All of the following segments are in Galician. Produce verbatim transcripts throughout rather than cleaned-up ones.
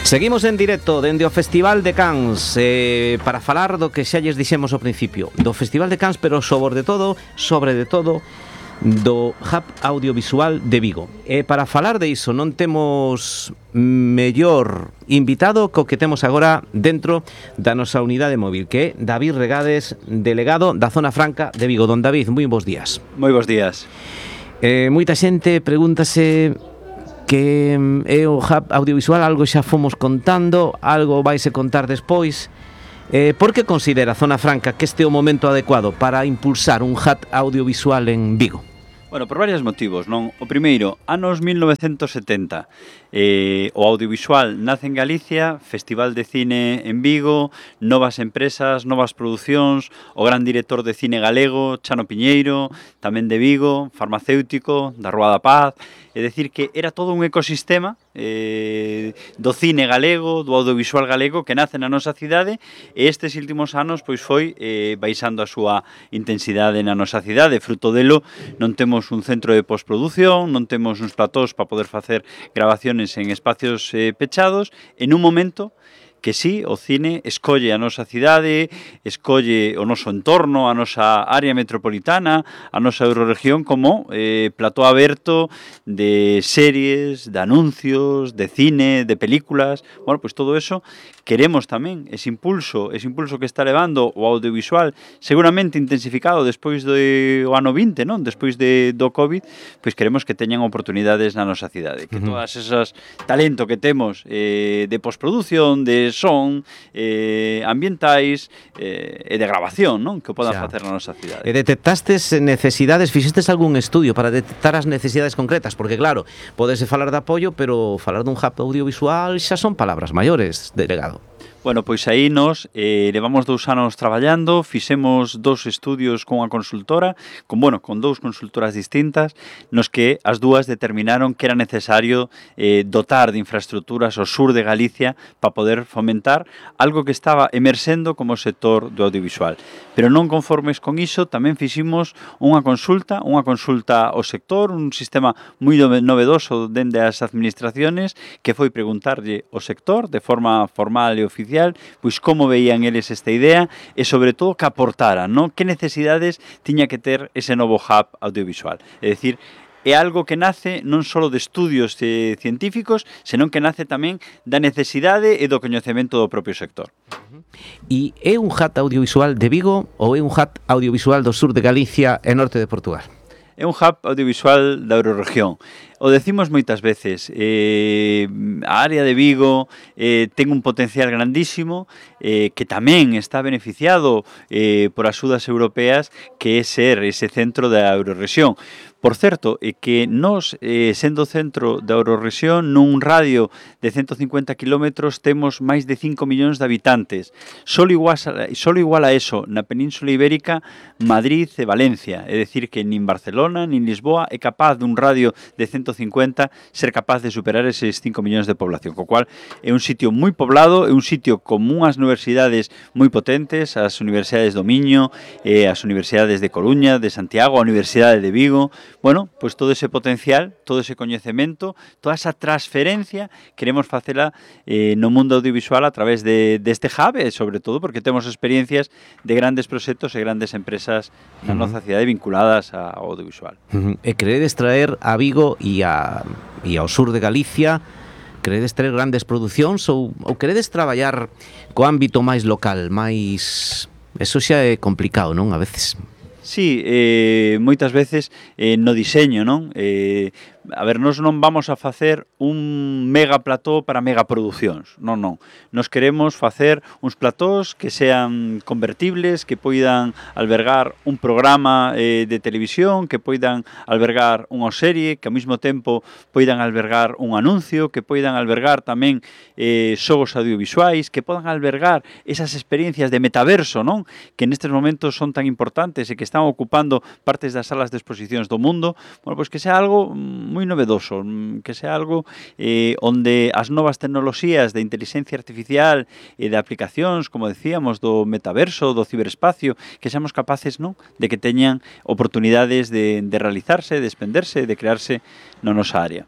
Seguimos en directo dende o Festival de Cans eh, para falar do que xa lles dixemos ao principio, do Festival de Cans, pero sobre de todo, sobre de todo do Hub Audiovisual de Vigo. E para falar de iso non temos mellor invitado co que temos agora dentro da nosa unidade móvil, que é David Regades, delegado da Zona Franca de Vigo. Don David, moi bons días. Moi bons días. Eh, moita xente pregúntase que é o Hub Audiovisual, algo xa fomos contando, algo vaise contar despois. Eh, por que considera a Zona Franca que este é o momento adecuado para impulsar un Hub Audiovisual en Vigo? Bueno, por varios motivos, non? O primeiro, anos mil novecentos setenta, eh, o audiovisual nace en Galicia, Festival de Cine en Vigo, novas empresas, novas producións, o gran director de cine galego, Chano Piñeiro, tamén de Vigo, farmacéutico, da Rúa da Paz. É dicir que era todo un ecosistema eh, do cine galego, do audiovisual galego que nace na nosa cidade, e estes últimos anos pois foi eh, baixando a súa intensidade na nosa cidade. Fruto delo non temos un centro de postproducción, non temos uns platós para poder facer grabaciones en espacios eh, pechados, en un momento que sí, o cine escolle a nosa cidade, escolle o noso entorno, a nosa área metropolitana, a nosa eurorregión como eh, plató aberto de series, de anuncios, de cine, de películas. Bueno, pois todo eso queremos tamén, ese impulso, ese impulso que está levando o audiovisual, seguramente intensificado despois do ano vinte, non? Despois de, do COVID, pois queremos que teñan oportunidades na nosa cidade, que todas esas talento que temos eh, de postproducción, de son, eh, ambientais eh, e de grabación, non? Que o podan facer na nosa cidade. E detectastes necesidades, fixestes algún estudio para detectar as necesidades concretas? Porque claro, podese falar de apoio, pero falar dun hub audiovisual xa son palabras maiores, delegado. Bueno, pois aí nos eh, levamos dous anos traballando, fixemos dous estudios con unha consultora, con, bueno, con dous consultoras distintas, nos que as dúas determinaron que era necesario eh, dotar de infraestructuras ao sur de Galicia para poder fomentar algo que estaba emerxendo como o sector do audiovisual. Pero non conformes con iso, tamén fiximos unha consulta, unha consulta ao sector, un sistema moi novedoso dende as administraciones, que foi preguntarlle ao sector de forma formal e oficial pois como veían eles esta idea e sobre todo que aportaran, non? Que necesidades tiña que ter ese novo hub audiovisual. É dicir, é algo que nace non só de estudios eh, científicos, senón que nace tamén da necesidade e do coñecemento do propio sector. E é un hub audiovisual de Vigo ou é un hub audiovisual do sur de Galicia e norte de Portugal? É un hub audiovisual da eurorregión. O decimos moitas veces, eh, a área de Vigo eh, ten un potencial grandísimo eh, que tamén está beneficiado eh, por axudas europeas, que é ser ese centro da eurorregión. Por certo, é que nós, eh, sendo centro da eurorregión, nun radio de ciento cincuenta kilómetros temos máis de cinco millóns de habitantes. Solo igual, solo igual a eso, na Península Ibérica, Madrid e Valencia. É dicir, que nin Barcelona, nin Lisboa é capaz dun radio de ciento cincuenta ser capaz de superar eses cinco millóns de población, co cual é un sitio moi poblado, é un sitio con unhas universidades moi potentes, as universidades do Miño, eh, as universidades de Coruña, de Santiago, a Universidade de Vigo. Bueno, pois todo ese potencial, todo ese coñecemento, toda esa transferencia queremos facela eh, no mundo audiovisual a través de, deste hub, e sobre todo porque temos experiencias de grandes proxectos e grandes empresas na uh-huh. nosa cidade vinculadas ao audiovisual. Uh-huh. E queredes traer a Vigo e, a, e ao sur de Galicia, queredes traer grandes producións ou, ou queredes traballar co ámbito máis local, máis... Eso xa é complicado, non? A veces... Sí, eh, moitas veces eh, no diseño, non? Eh, a ver, nós non vamos a facer un mega plató para megaproduccións, non, non. Nos queremos facer uns platós que sean convertibles, que poidan albergar un programa eh, de televisión, que poidan albergar unha serie, que ao mesmo tempo poidan albergar un anuncio, que poidan albergar tamén eh, xogos audiovisuais, que podan albergar esas experiencias de metaverso, non? Que nestes momentos son tan importantes e que están ocupando partes das salas de exposicións do mundo. Bueno, pois que sea algo moi novedoso, que sea algo eh, onde as novas tecnoloxías de inteligencia artificial e de aplicacións, como decíamos, do metaverso, do ciberespacio, que seamos capaces, non, de que teñan oportunidades de, de realizarse, de expenderse, de crearse na nosa área.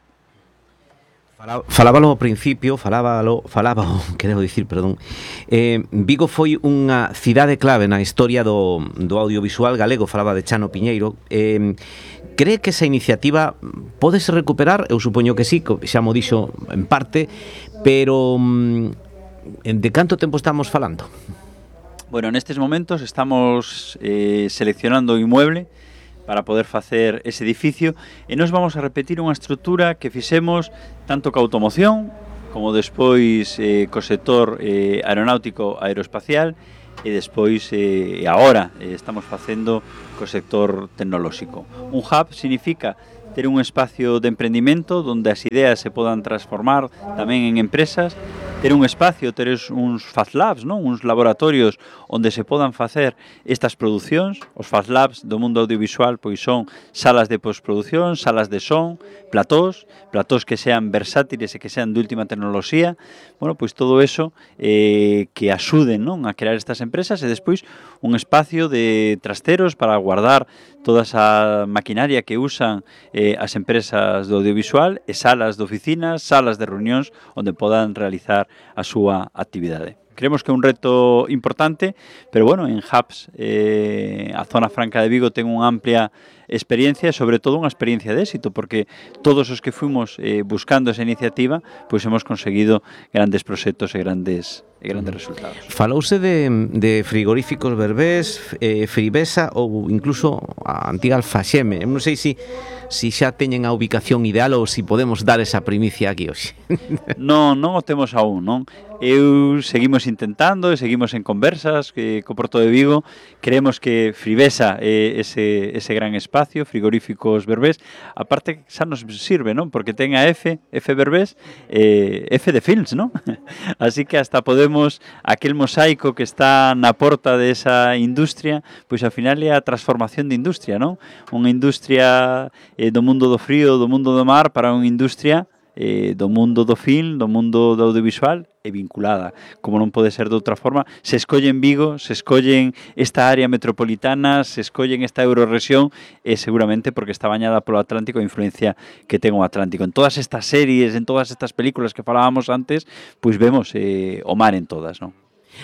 Falábalo ao principio, falábalo, falábalo, quero dicir, perdón. Eh, Vigo foi unha cidade clave na historia do, do audiovisual galego, falaba de Chano Piñeiro. Eh, cree que esa iniciativa pódese recuperar? Eu supoño que sí, xa mo dixo en parte, pero de canto tempo estamos falando? Bueno, nestes momentos estamos eh, seleccionando o inmueble para poder facer ese edificio e nos vamos a repetir unha estrutura que fixemos tanto ca automoción como despois eh, co sector eh, aeronáutico aeroespacial e despois eh, agora eh, estamos facendo co sector tecnolóxico. Un hub significa ter un espacio de emprendimento onde as ideas se podan transformar tamén en empresas, ter un espacio, ter uns Fast Labs, non? Uns laboratorios onde se podan facer estas producións. Os Fast Labs do mundo audiovisual pois son salas de postproducción, salas de son, platós, platós que sean versátiles e que sean de última tecnoloxía. Bueno, pois todo eso eh, que axuden, non? A crear estas empresas e despois un espacio de trasteros para guardar toda esa maquinaria que usan eh, as empresas do audiovisual e salas de oficinas, salas de reunións onde podan realizar a súa actividade. Creemos que é un reto importante, pero bueno, en Hubs eh, a zona franca de Vigo ten unha amplia experiencia e sobre todo unha experiencia de éxito, porque todos os que fuimos eh, buscando esa iniciativa, pois hemos conseguido grandes proxectos e grandes e grandes resultados. Falouse de, de frigoríficos Berbés, eh, Fribesa ou incluso a antiga Alfaxeme. Eu non sei se si, si xa teñen a ubicación ideal ou se si podemos dar esa primicia aquí hoxe. Non, non o temos aún, non? Eu seguimos intentando e seguimos en conversas que co Porto de Vigo. Creemos que Fribesa é ese, ese gran espacio, frigoríficos Berbés. A parte xa nos sirve, non? Porque ten a F, F Berbés, eh, F de Films, non? Así que hasta podemos, aquel mosaico que está na porta desa industria, pois ao final é a transformación de industria, non? Unha industria eh, do mundo do frío, do mundo do mar, para unha industria eh, do mundo do film, do mundo do audiovisual e vinculada, como non pode ser de outra forma. Se escollen Vigo, se escollen esta área metropolitana, se escollen esta eurorrexión, e seguramente porque está bañada polo Atlántico, a influencia que ten o Atlántico. En todas estas series, en todas estas películas que falábamos antes, pois vemos eh, o mar en todas, non?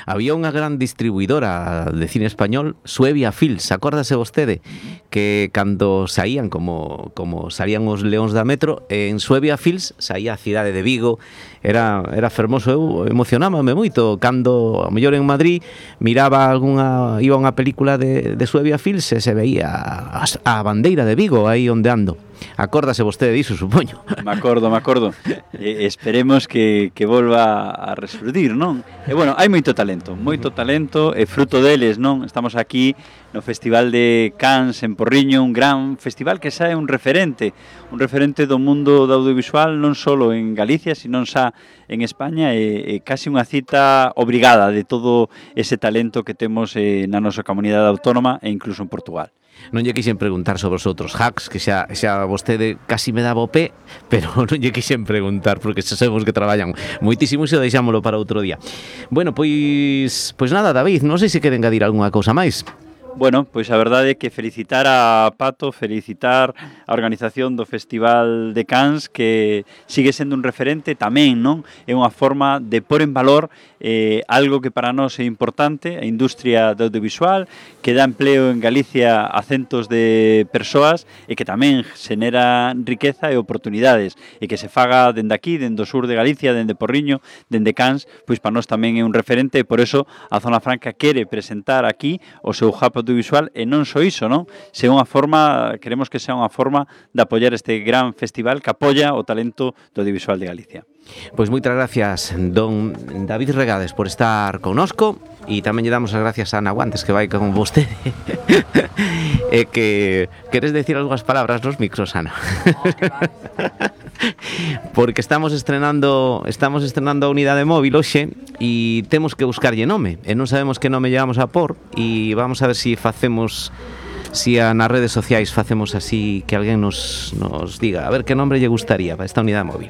Había unha gran distribuidora de cine español, Suevia Films, acórdase vostede, que cando saían, como, como salían os Leóns da Metro, en Suevia Films saía a cidade de Vigo, era, era fermoso. Eu emocionábame moito cando, a mellor en Madrid, miraba algunha, iba a unha película de, de Suevia Films e se veía a, a bandeira de Vigo aí ondeando. Acórdase vostede diso, supoño. Me acordo, me acordo. Eh, esperemos que, que volva a resurdir, non? E bueno, hai moito talento, moito talento, e fruto deles, non? Estamos aquí no Festival de Cannes en Porriño, un gran festival que xa é un referente, un referente do mundo do audiovisual, non só en Galicia, sino xa en España, e, e casi unha cita obrigada de todo ese talento que temos eh, na nosa comunidade autónoma e incluso en Portugal. Non lle quixen preguntar sobre os outros hacks, que xa, xa vostede casi me daba o pé, pero non lle quixen preguntar, porque xa sabemos que traballan moitísimo e xa deixámolo para outro día. Bueno, pois, pois nada, David, non sei se queren engadir algunha cousa máis. Bueno, pois a verdade é que felicitar a Pato, felicitar a organización do Festival de Cannes, que sigue sendo un referente tamén, non? É unha forma de pôr en valor eh, algo que para nós é importante, a industria do audiovisual, que dá empleo en Galicia a centos de persoas e que tamén xenera riqueza e oportunidades, e que se faga dende aquí, dende o sur de Galicia, dende Porriño, dende Cannes, pois para nós tamén é un referente, e por eso a Zona Franca quere presentar aquí o seu hub audiovisual, e non só iso, non? Se unha forma, queremos que sea unha forma de apoiar este gran festival que apoia o talento do audiovisual de Galicia. Pois moitas gracias, don David Regades, por estar connosco, e tamén lle damos as gracias a Ana Guantes, que vai con vostede. E que queres decir algunhas palabras nos micros, Ana? Porque estamos estrenando estamos estrenando a unidade móvil hoxe e temos que buscarlle nome, e non sabemos que nome llevamos a por, e vamos a ver se si facemos si a nas redes sociais facemos así, que alguén nos, nos diga a ver que nombre lle gustaría para esta unidade móvil.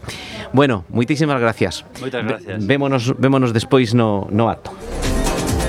Bueno, moitísimas gracias. Moitas gracias. Vémonos, vémonos despois no, no acto.